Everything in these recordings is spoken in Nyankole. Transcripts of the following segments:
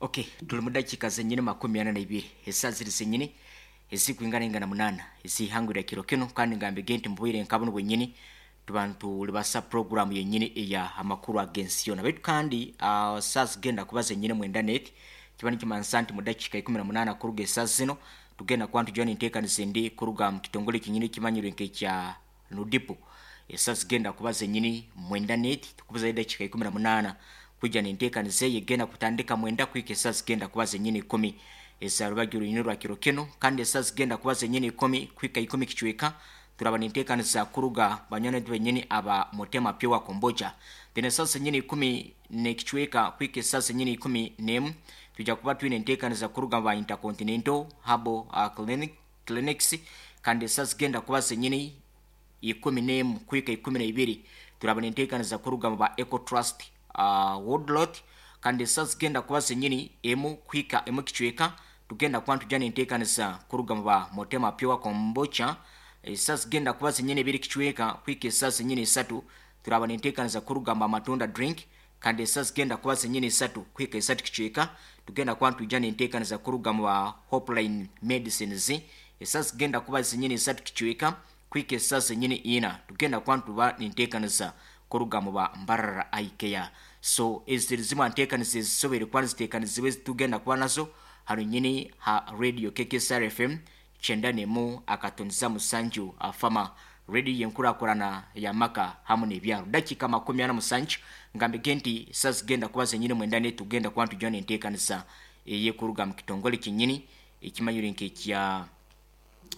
Okay, tuli mu dakiika zenyini 42 esaaha ziri zenyini ezikwinganaingana 8 ez'eihangwe rya kiro kinu, kandi ngambege nti mu bwire nka bunu bwenyini tuba nitulibasa puroguramu yenyini eya amakuru ag'ensi yoona. Baitu kandi ah, saaha zigenda kuba zenyini mwenda n'eti, kiba nikimanisa nti mu dakiika 18 kuruga esaaha zinu tugenda kuba nitujwana enteekaniza endi kuruga mu kitongole kyenyini ekimanyirwe nk'ekya Nudipu. Esaaha zigenda kuba zenyini mwenda n'eti, tukubuzayo edakiika 18 kwija n'enteekaniza eyo egenda kutandika mwenda kuhika esaaha zigenda kuba zenyini ikumi eza rubaju rwine rwa kiro kinu. Kandi esaaha zigenda kuba zenyini ikumi kuhika ikumi kicweka turaba n'enteekaniza kuruga banywani baitu benyini aba Mutema Pure Kombucha. Then esaaha zenyini ikumi n'ekicweka kuhika esaaha zenyini 11 twija kuba twine enteekaniza kuruga ba Intercontinental Herbal Clinic, Clinics. Kandi esaaha zigenda kuba zenyini 11 kuhika 12 turaba n'enteekaniza kuruga mu ba Eco Trust Woodlot. Kandi esaaha zigenda kuba zenyini emu kuhika emu kicweka tugenda kuba nitujya n'enteekaniza kuruga mu ba Mutema Pure Kombucha. Esaaha zigenda kuba zenyini ebiri kicweka kuhika esaaha zenyini isatu turaba n'enteekaniza kuruga mu ba Matunda Drink. Kandi esaaha zigenda kuba zenyini isatu kuhika isatu kicweka tugenda kuba nitwija n'enteekaniza kuruga mu ba Hopeline Medicines. Esaaha zigenda kuba zenyini isatu kicweka kuhika esaaha zenyini ina tugenda kuba nituba n'enteekaniza kuruga mu ba Mbarara Eye Care. So ezi ziri zimwe aha nteekaniza ezisoboire kuba niziteekanizibwa ezitugenda kuba nazo hanu nyini ha Radio KKSR FM 91.7 Afama Radio y'enkurakurana y'amaka hamu n'ebyaro. Dakiika 47 ngambege nti esaaha zigenda kuba zenyini mwenda n'etugenda kuba nitujwa n'enteekaniza ey'ekuruga mu kitongole kyenyini ekimanyirwe nk'ekya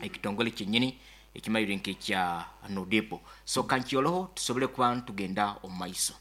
ekitongole kyenyini ekimanyirwe nk'ekya Nudipu. So kankyoloho tusobole kuba nitugenda omu maiso.